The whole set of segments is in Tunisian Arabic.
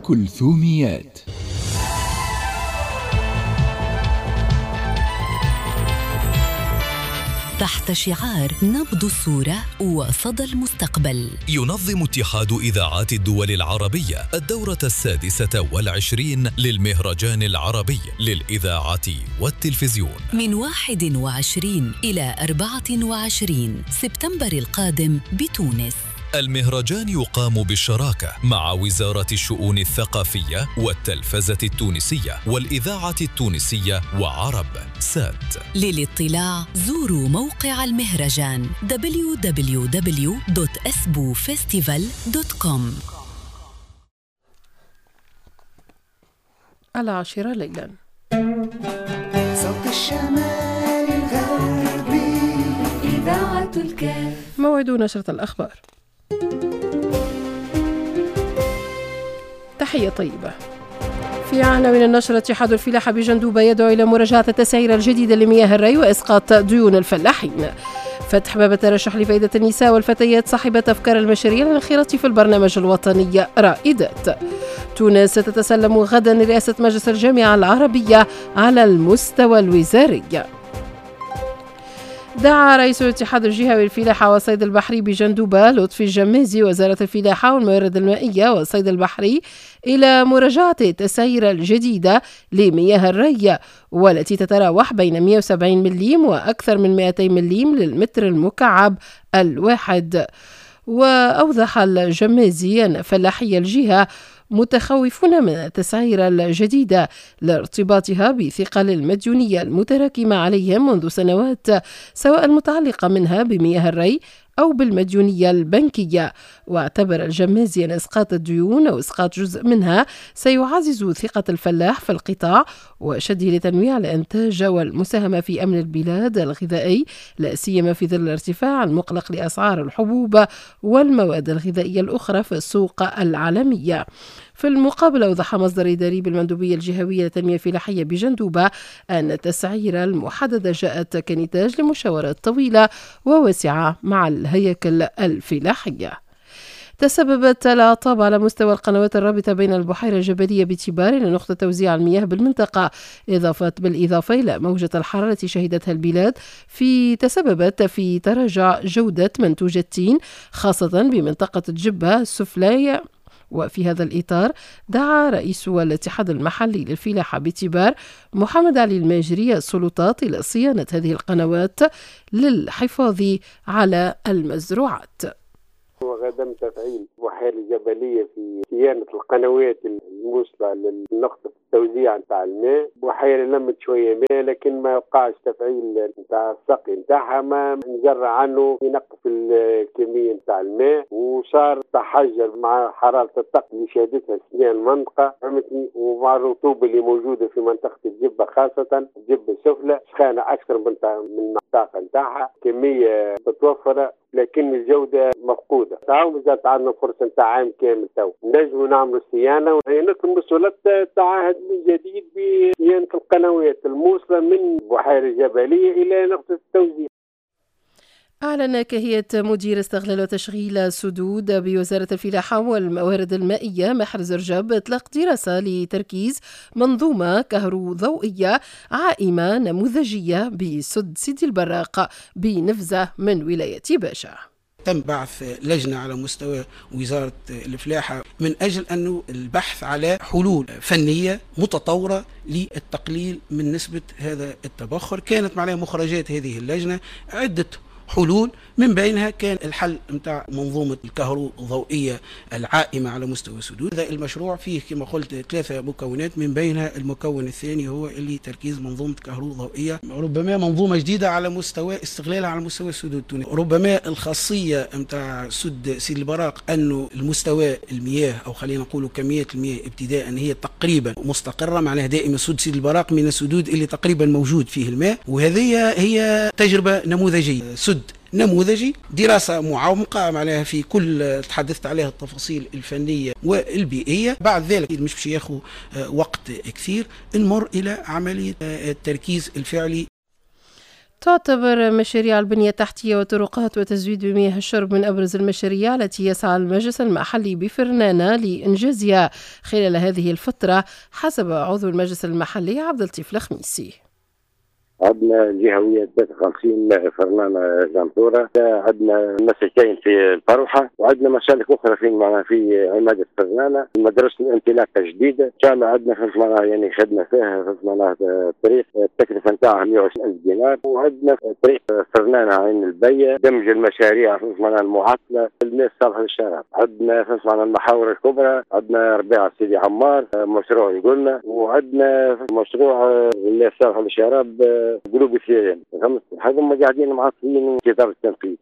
كلثوميات. تحت شعار نبض الصورة وصدى المستقبل، ينظم اتحاد إذاعات الدول العربية الدورة 26 للمهرجان العربي للإذاعة والتلفزيون من 21 إلى 24 سبتمبر القادم بتونس. المهرجان يقام بالشراكة مع وزارة الشؤون الثقافية والتلفزة التونسية والإذاعة التونسية وعرب سات. للاطلاع زوروا موقع المهرجان www.asbufestival.com. 10 ليلا. صوت الشمال الغربي، إذاعة الكاف. موعد نشرة الأخبار. تحية طيبة. في عناوين النشرة: اتحاد الفلاحة بجندوبة يدعو إلى مراجعة التسعير الجديدة لمياه الري وإسقاط ديون الفلاحين. فتح باب الترشح لفائدة النساء والفتيات صاحبة أفكار المشاريع للانخراط في البرنامج الوطني رائدات. تونس ستتسلم غدا رئاسة مجلس الجامعة العربية على المستوى الوزاري. دعا رئيس الاتحاد الجهوي للفلاحة والصيد البحري بجندوبة لطفي الجمازي وزارة الفلاحة والموارد المائية والصيد البحري إلى مراجعة التسعير الجديدة لمياه الري والتي تتراوح بين 170 مليم وأكثر من 200 مليم للمتر المكعب الواحد. وأوضح الجمازي أن فلاحي الجهة متخوفون من التسعير الجديدة لارتباطها بثقل المديونية المتراكمة عليهم منذ سنوات، سواء المتعلقة منها بمياه الري أو بالمديونية البنكية. واعتبر الجمازي أن إسقاط الديون أو إسقاط جزء منها سيعزز ثقة الفلاح في القطاع وشده لتنويع الإنتاج والمساهمة في أمن البلاد الغذائي، لا سيما في ظل الارتفاع المقلق لأسعار الحبوب والمواد الغذائية الأخرى في السوق العالمية. في المقابل أوضح مصدر إداري بالمندوبية الجهوية للتنمية الفلاحية بجندوبة أن التسعير المحددة جاءت كنتاج لمشاورات طويلة وواسعة مع الهياكل الفلاحية. تسببت الأعطاب على مستوى القنوات الرابطة بين البحيرة الجبلية بتبار إلى نقطة توزيع المياه بالمنطقة، بالإضافة إلى موجة الحرارة التي شهدتها البلاد تسببت في تراجع جودة منتوج التين خاصة بمنطقة الجبة السفلى. وفي هذا الإطار دعا رئيس الاتحاد المحلي للفلاحة بتبار محمد علي الماجري السلطات إلى صيانة هذه القنوات للحفاظ على المزروعات. وغدا تفعيل البحيرة الجبلية في صيانة القنوات الموصلة لنقطة التوزيع نتاع الماء. بحيرة لمت شوية ماء لكن ما وقعش تفعيل نتاع السقي نتاعها، ما نجرى عنه ينقص الكمية نتاع الماء، وصار تحجر مع حرارة الطقس اللي شهدتها السنة المنطقة، فهمتني، ومع الرطوبة اللي موجودة في منطقة الجبة خاصة الجبة السفلى سخانة أكثر من الطاقة نتاعها، كمية متوفرة لكن الجودة مفقودة. تعاون مازالت عندنا فرصة نتاع عام كامل تو نجموا نعملوا صيانة، ونطلب من السلطات تعهد من جديد بصيانة القنوات الموصلة من بحيرة الجبلية إلى نقطة التوزيع. أعلن كهية مدير استغلال وتشغيل السدود بوزارة الفلاحة والموارد المائية محرز رجب إطلاق دراسة لتركيز منظومة كهروضوئية عائمة نموذجية بسد سيدي البراق بنفزة من ولاية باشا. تم بعث لجنة على مستوى وزارة الفلاحة من أجل أنه البحث على حلول فنية متطورة للتقليل من نسبة هذا التبخر. كانت معناها مخرجات هذه اللجنة عدة حلول، من بينها كان الحل نتاع منظومة الكهروضوئية العائمة على مستوى السدود. هذا المشروع فيه كما قلت 3 مكونات، من بينها المكون الثاني هو اللي تركيز منظومة كهروضوئية، ربما منظومة جديدة على مستوى استغلالها على مستوى السدود التونسي. ربما الخاصية نتاع سد سيدي البراق أنه المستوى المياه أو خلينا نقولوا كمية المياه ابتداء هي تقريبا مستقرة، معناها دائما سد سيدي البراق من السدود اللي تقريبا موجود فيه الماء، وهذه هي تجربة نموذجية، سد نموذجي، دراسة معمقة معناها في كل تحدثت عليها التفاصيل الفنية والبيئية. بعد ذلك مش باش ياخذ وقت كثير، نمر إلى عملية التركيز الفعلي. تعتبر مشاريع البنية التحتية والطرقات وتزويد بمياه الشرب من أبرز المشاريع التي يسعى المجلس المحلي بفرنانة لإنجازها خلال هذه الفترة، حسب عضو المجلس المحلي عبد اللطيف الخميسي. عندنا الجهوية 53 فرنانة جنطورة، عندنا مسلكين في الفروحة، وعندنا مسالك أخرى في معناها في عمادة فرنانة، مدرسة الانطلاقة الجديدة، إن شاء الله عندنا في معناها يعني خدمة فيها في معناها طريق التكلفة نتاعها 120 ألف دينار، وعندنا طريق فرنانة عين البية، دمج المشاريع في معناها المعطلة، الماء الصالح للشراب، عندنا في معناها المحاور الكبرى، عندنا ربيع سيدي عمار مشروع قلنا، وعندنا مشروع الماء الصالح للشراب قلوب الثيران، هذوما قاعدين معطلين في إطار التنفيذ.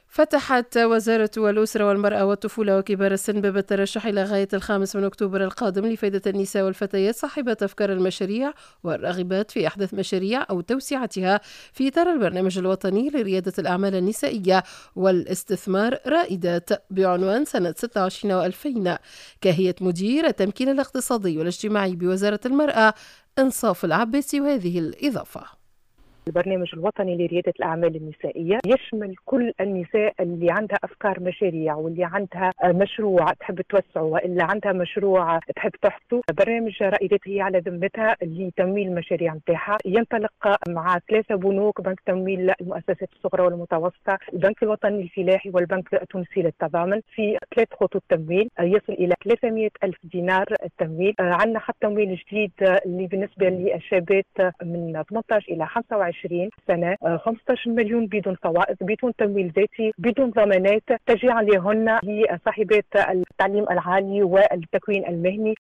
فتحت وزارة الأسرة والمرأة والطفولة وكبار السن باب الترشح إلى غاية 5 أكتوبر القادم لفائدة النساء والفتيات صاحبات أفكار المشاريع والراغبات في إحداث مشاريع أو توسعتها في إطار البرنامج الوطني لريادة الأعمال النسائية والاستثمار رائدات بعنوان سنة 26 و2000. كهية مدير التمكين الاقتصادي والاجتماعي بوزارة المرأة إنصاف العباسي وهذه الإضافة. البرنامج الوطني لريادة الأعمال النسائية يشمل كل النساء اللي عندها أفكار مشاريع واللي عندها مشروع تحب توسعه وإلا عندها مشروع تحب تحطه. برنامج رائدات هي على ذمتها لتمويل المشاريع نتاعها، ينطلق مع 3 بنوك: بنك تمويل المؤسسات الصغرى والمتوسطة، البنك الوطني الفلاحي، والبنك التونسي للتضامن، في 3 خطوط تمويل يصل إلى 300 ألف دينار التمويل. عندنا خط تمويل جديد اللي بالنسبة للشابات من 18 إلى 25 سنة، 15 مليون بدون فوائد، بدون تمويل ذاتي، بدون ضمانات، تشجيعا لهن لصاحبات التعليم العالي والتكوين المهني.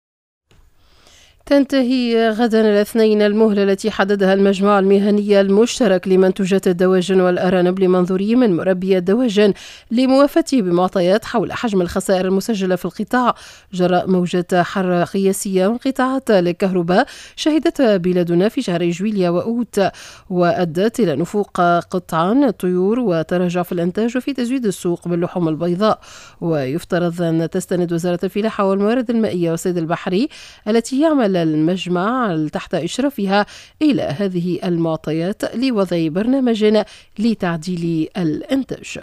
تنتهي غدا الاثنين المهلة التي حددها المجمع المهني المشترك لمنتوجات الدواجن والأرانب لمنظوري من مربي الدواجن لموافاته بمعطيات حول حجم الخسائر المسجلة في القطاع جراء موجة حر قياسية وانقطاعات للكهرباء شهدتها بلادنا في شهر جويليا وأوت، وأدت إلى نفوق قطعان الطيور وتراجع في الإنتاج وفي تزويد السوق باللحوم البيضاء. ويفترض أن تستند وزارة الفلاحة والموارد المائية والصيد البحري التي يعمل المجمع تحت إشرافها إلى هذه المعطيات لوضع برنامج لتعديل الإنتاج.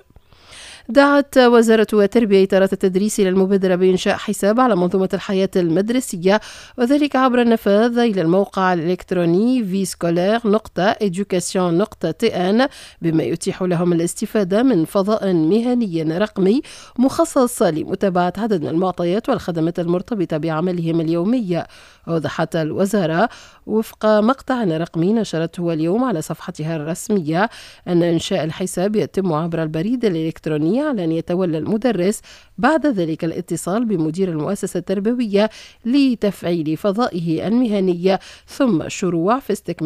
دعت وزارة التربية إطارات التدريس إلى المبادرة بإنشاء حساب على منظومة الحياة المدرسية، وذلك عبر النفاذ إلى الموقع الإلكتروني viescolaire.education.tn، بما يتيح لهم الاستفادة من فضاء مهني رقمي مخصص لمتابعة عدد من المعطيات والخدمات المرتبطة بعملهم اليومي. أوضحت الوزارة وفق مقطع رقمي نشرته اليوم على صفحتها الرسمية أن إنشاء الحساب يتم عبر البريد الإلكتروني على أن يتولى المدرس بعد ذلك الاتصال بمدير المؤسسة التربوية لتفعيل فضائه المهني ثم الشروع في استكمال